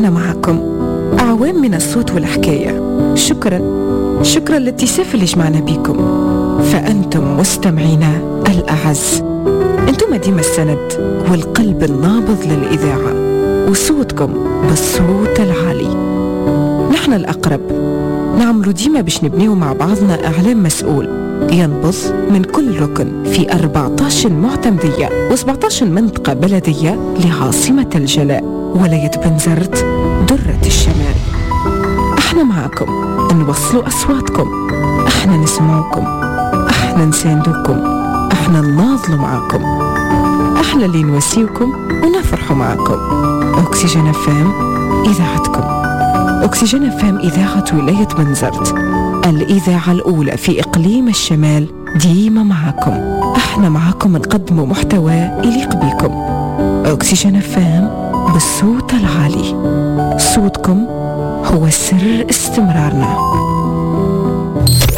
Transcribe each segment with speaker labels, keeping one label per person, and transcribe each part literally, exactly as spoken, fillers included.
Speaker 1: احنا معكم. أعوام من الصوت والحكاية. شكرا شكرا للاتساف اللي جمعنا بيكم، فأنتم مستمعينا الأعز، أنتم ديما السند والقلب النابض للإذاعة، وصوتكم بالصوت العالي. نحن الأقرب، نعملوا ديما باش نبنيو مع بعضنا إعلام مسؤول ينبض من كل ركن في أربعة عشر معتمدية وسبعة عشر منطقة بلدية لعاصمة الجلاء ولاية بنزرت درة الشمال. احنا معاكم نوصلوا أصواتكم، احنا نسمعوكم، احنا نساندوكم، احنا نناضلوا معاكم، احنا اللي نواسيوكم ونفرحوا معاكم. أكسجين أف أم إذاعتكم، أكسجين أف أم إذاعة ولاية بنزرت، الإذاعة الأولى في إقليم الشمال، ديما معاكم. احنا معاكم نقدم محتوى يليق بكم. أكسجين أف أم بالصوت العالي، صوتكم هو سر استمرارنا.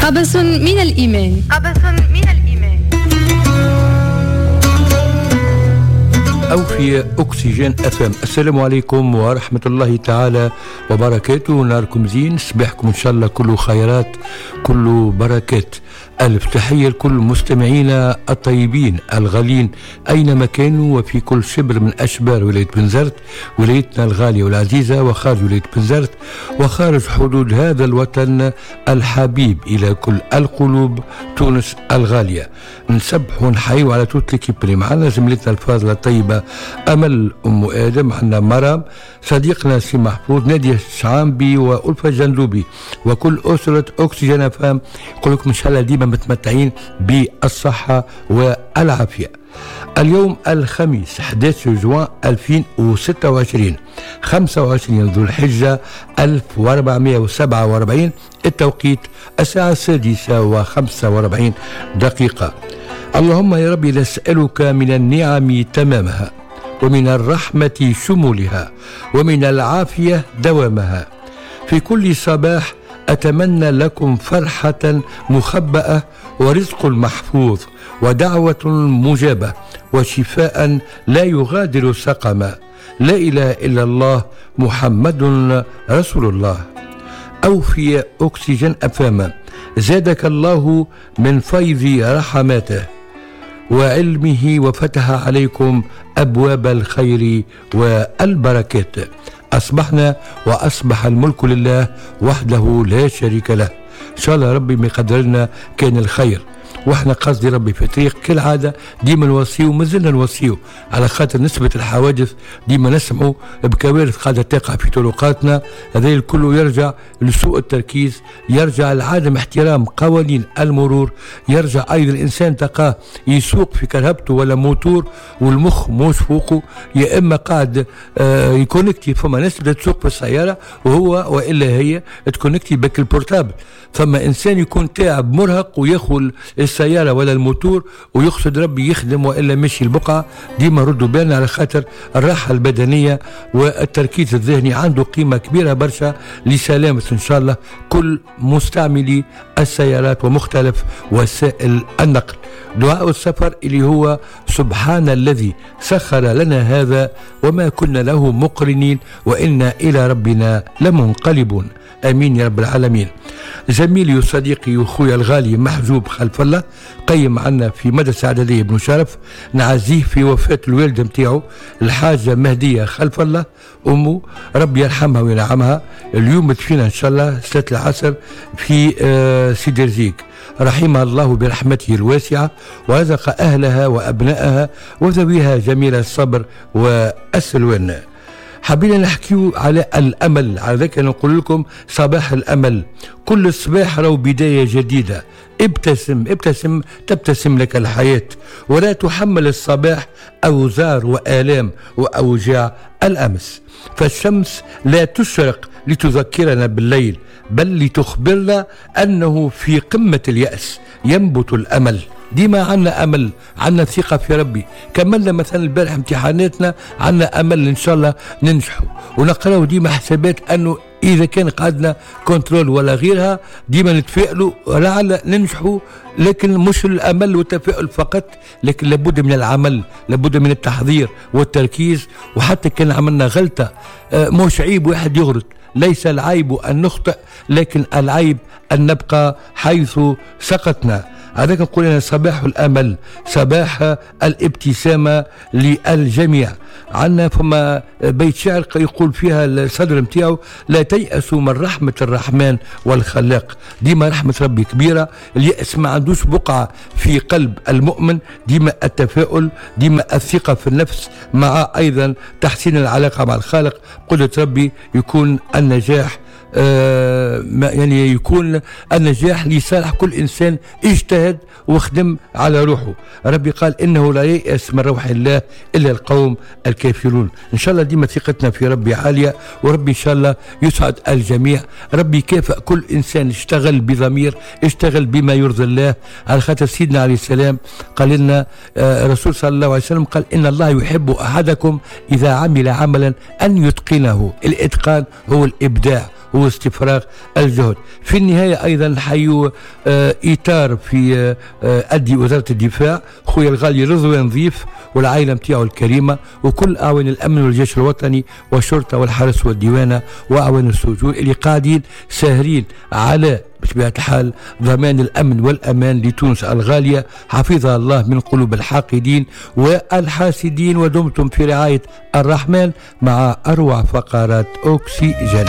Speaker 2: قبس من الإيمان.
Speaker 3: قبس من الإيمان.
Speaker 4: أوفياء أكسجين أف أم، السلام عليكم ورحمة الله تعالى وبركاته. نهاركم زين، صباحكم إن شاء الله كله خيرات، كله بركات. ألف تحية لكل مستمعينا الطيبين الغالين أينما كانوا وفي كل شبر من أشبار ولاية بنزرت، ولايتنا الغالية والعزيزة، وخارج ولاية بنزرت وخارج حدود هذا الوطن الحبيب إلى كل القلوب، تونس الغالية. نسبح ونحيو على toute l'équipe اللي معنا، زميلتنا الفاضلة الطيبة أمل أم آدم، عندنا مرام، صديقنا سي محفوظ، نادية الشعامبي وألفة الجندوبي وكل أسرة أكسجين أف أم. يقول لكم إن شاء الله ديما متمتعين بالصحة والعافية. اليوم الخميس أحد عشر جوان ألفين وستة وعشرين، خمسة وعشرين ذو الحجة ألف وأربعمئة وسبعة وأربعين، التوقيت الساعة السادسة وخمسة وأربعين دقيقة. اللهم يا ربي نسألك من النعم تمامها، ومن الرحمة شمولها، ومن العافية دوامها. في كل صباح أتمنى لكم فرحة مخبأة ورزق محفوظ ودعوة مجابة وشفاء لا يغادر سقما. لا إله إلا الله، محمد رسول الله. أوفياء أكسجين أف أم، زادك الله من فيض رحماته وعلمه وفتح عليكم أبواب الخير والبركات. أصبحنا وأصبح الملك لله وحده لا شريك له. إن شاء الله ربي ما يقدر لنا كان الخير، واحنا قصدي ربي في طريق كالعادة ديما نوصيو، مازلنا نوصيو على خاطر نسبة الحوادث ديما نسمعوا بكوارث قاعدة تقع في طرقاتنا. هذا الكل يرجع لسوء التركيز، يرجع لعدم احترام قوانين المرور، يرجع أيضا الإنسان تلقاه يسوق في كرهبته ولا موتور والمخ موش فوقه، يا إما قاعد آه يكونكتي. فما ناس بدأت تسوق في السيارة وهو وإلا هي تكونكتي بك ال portable. فما إنسان يكون تعب مرهق وياخذ السيارة ولا الموتور ويقصد ربي يخدم وإلا مشي البقعة. ديما ردوا بالنا على خاطر الراحة البدنية والتركيز الذهني عنده قيمة كبيرة برشا لسلامة إن شاء الله كل مستعملي السيارات ومختلف وسائل النقل. دعاء السفر اللي هو سبحان الذي سخر لنا هذا وما كنا له مقرنين وإنا إلى ربنا لمنقلبون. امين يا رب العالمين. زميلي وصديقي وخويا الغالي محجوب خلف الله قيم عنا في مدرسة إعدادية ابن شرف، نعزيه في وفاة الوالدة متاعه الحاجة مهدية خلف الله أمه، ربي يرحمها وينعمها. اليوم تدفن إن شاء الله ستة العصر في آه، سيدي رزيق. رحمها الله برحمته الواسعة ورزق أهلها وأبنائها وذويها جميل الصبر والسلوان. حبينا نحكيو على الأمل، على ذلك نقول لكم صباح الأمل. كل صباح راهو بداية جديدة. ابتسم ابتسم تبتسم لك الحياة، ولا تحمل الصباح أوزار وآلام وأوجاع الأمس. فالشمس لا تشرق لتذكرنا بالليل، بل لتخبرنا أنه في قمة اليأس ينبت الأمل. ديما عنا أمل، عنا ثقة في ربي. كملنا مثلا البارح امتحاناتنا، عنا أمل إن شاء الله ننجحوا ونقراو ديما حسابات أنه إذا كان قعدنا contrôle ولا غيرها، ديما نتفائلوا لعل ننجحوا. لكن مش الأمل والتفاؤل فقط، لكن لابد من العمل، لابد من التحضير والتركيز. وحتى كان عملنا غلطة مش عيب واحد يغلط، ليس العيب أن نخطئ، لكن العيب أن نبقى حيث سقطنا. هذاك نقول أنا صباح الأمل، صباح الابتسامة للجميع. عندنا فما بيت شعر يقول فيها الصدر متاعو: لا تيأسوا من رحمة الرحمن والخلاق. ديما رحمة ربي كبيرة، اليأس ما عندوش بقعة في قلب المؤمن. ديما التفاؤل، ديما الثقة في النفس، مع أيضا تحسين العلاقة مع الخالق. قدرة ربي يكون النجاح، آه يعني يكون النجاح لصالح كل إنسان اجتهد وخدم على روحه. ربي قال إنه لا ييأس من روح الله إلا القوم الكافرون. إن شاء الله ديما ثقتنا في ربي عالية، وربي إن شاء الله يسعد الجميع. ربي يكافئ كل إنسان اشتغل بضمير، اشتغل بما يرضي الله. على خاطر سيدنا عليه السلام قال لنا، آه رسول صلى الله عليه وسلم قال: إن الله يحب أحدكم إذا عمل عملا أن يتقنه. الإتقان هو الإبداع، هو استفراغ الجهد. في النهاية أيضا نحيو آه إطار في آه أدي وزارة الدفاع، خويا الغالي رضوان نظيف والعائلة متاعه الكريمة، وكل أعوان الأمن والجيش الوطني والشرطة والحرس والديوانة وأعوان السجون اللي قاعدين ساهرين على بطبيعة الحال ضمان الأمن والأمان لتونس الغالية. حفظها الله من قلوب الحاقدين والحاسدين، ودمتم في رعاية الرحمن مع أروع فقرات أكسجين.